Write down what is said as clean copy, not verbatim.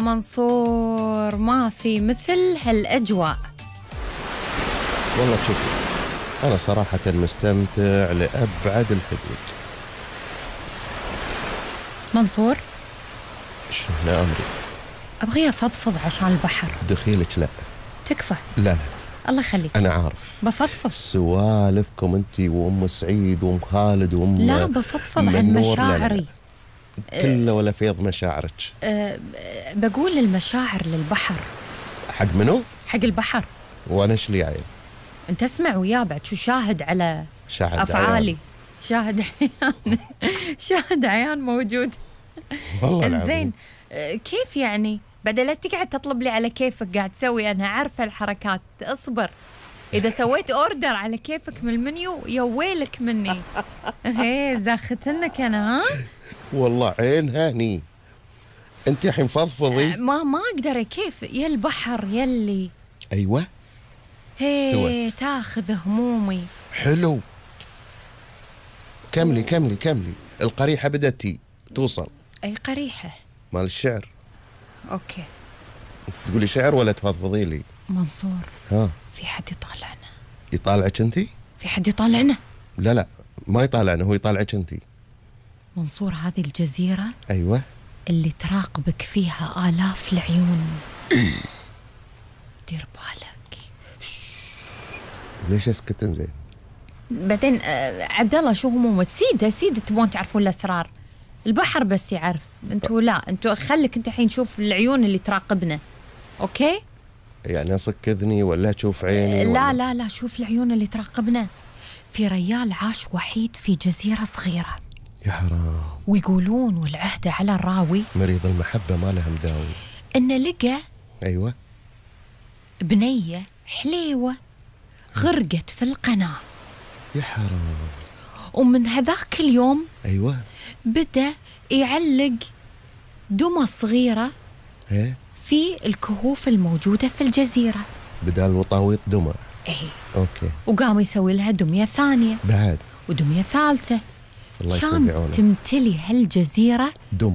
منصور، ما في مثل هالأجواء. والله شوفي، أنا صراحة مستمتع لأبعد الحدود. منصور، شنو أمري؟ أبغي أفضفض عشان البحر. دخيلك لا. تكفى. لا الله يخليك. أنا عارف بفضفض. سوالفكم أنتي وأم سعيد وأم خالد وأم لا، بفضفض عن مشاعري. كله ولا فيض مشاعرك. بقول المشاعر للبحر. حق منو؟ حق البحر. وأنا إيش لي عيب؟ أنت اسمع ويا بعد شو شاهد على شاهد أفعالي عيان. شاهد عيان. شاهد عيان موجود. والله إنزين، كيف يعني؟ بعد لا تقعد تطلب لي على كيفك قاعد تسوي، أنا عارفة الحركات. اصبر، إذا سويت أوردر على كيفك من المنيو يا ويلك مني. هي زاختنك أنا. ها والله عين هاني. أنت الحين فضفضي. ما أقدر. كيف يا البحر يلي. أيوة. هي تاخذ همومي. حلو. كملي كملي كملي. القريحة بدأتي توصل. أي قريحة؟ مال الشعر. أوكي. تقولي شعر ولا تفضفضي لي؟ منصور، ها، في حد يطالعنا؟ يطالعك أنتي؟ في حد يطالعنا؟ لا ما يطالعنا، هو يطالعك أنتي. منصور، هذه الجزيرة أيوة اللي تراقبك فيها آلاف العيون. دير بالك. ليش اسكت زين؟ بعدين عبد الله، شو همومك؟ سيدة تبون تعرفون الأسرار. البحر بس يعرف، انتوا لا، انتوا خليك انت الحين شوف العيون اللي تراقبنا. اوكي؟ يعني اصك اذني ولا تشوف عيني؟ لا، شوف العيون اللي تراقبنا. في ريال عاش وحيد في جزيرة صغيرة. يا حرام. ويقولون والعهدة على الراوي مريض المحبة ما له مداوي. إنه لقى أيوة بنية حليوة غرقت في القناة. يا حرام. ومن هذاك اليوم أيوة بدأ يعلق دمى صغيرة إيه؟ في الكهوف الموجودة في الجزيرة بدال وطاويط دمى. إيه. أوكي. وقام يسوي لها دمية ثانية بعد ودمية ثالثة. الله يكون كان بعونه. تمتلي هالجزيرة دمى.